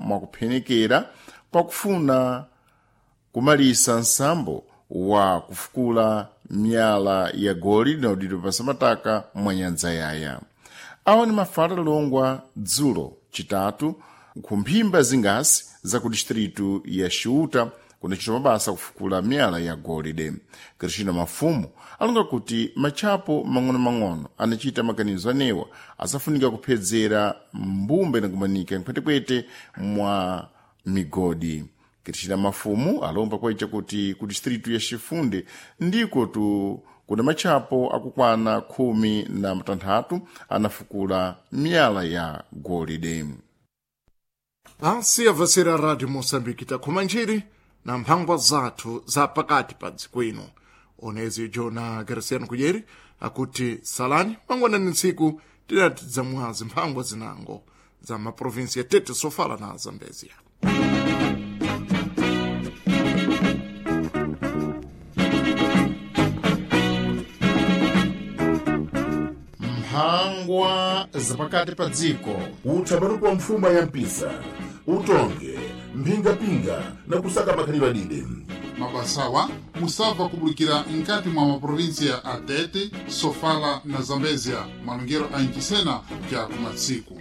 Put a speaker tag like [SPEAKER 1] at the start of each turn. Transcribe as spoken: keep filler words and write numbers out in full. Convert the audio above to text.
[SPEAKER 1] Mwakuphenekera pakufuna kumalisa nsambo wa kufukula miyala ya golide inawudidwa pasamataka mwa nyanja yaya. Awa ni mafala alongwa dzulo citatu ku mphimba zingasi za ku distritu ya Xiuta kunacitwa mabasa akufukula miyala ya golide. Cristina Mafumo alonga kuti matchapo mang'ono-mang'ono anacita maganizo anewa asafunika kuphedzera mbumba inakumanika mphwetekwete mwa migodi. Cristina Mafumo alomba kwaita kuti ku distritu ya Xifunde ndiko tu kuna matchapo akukwana khumi na matanthatu anafukula miyala ya golide.
[SPEAKER 2] Asi avasera Radio Moçambique takhuma njiri na mphangwa zathu za pakati pa dziko ino. Onezi Jona Graciano Kujeri akuti salani mangwanani ntsiku tinati dzamwazi mphangwa zinango za maprovinsi ya Tete, Sofala na Zambezia.
[SPEAKER 1] Mphangwa zapakati pa dziko.
[SPEAKER 3] Utsabaruko wa mfuma ya mpisa, utonge mphingapinga na kusaka makhalidwe adide.
[SPEAKER 4] Mabasawa musabva kubulikira nkati mwa maprovinsia a Tete, Sofala na Zambezia, malongero a Inchisena ja kumatsiku.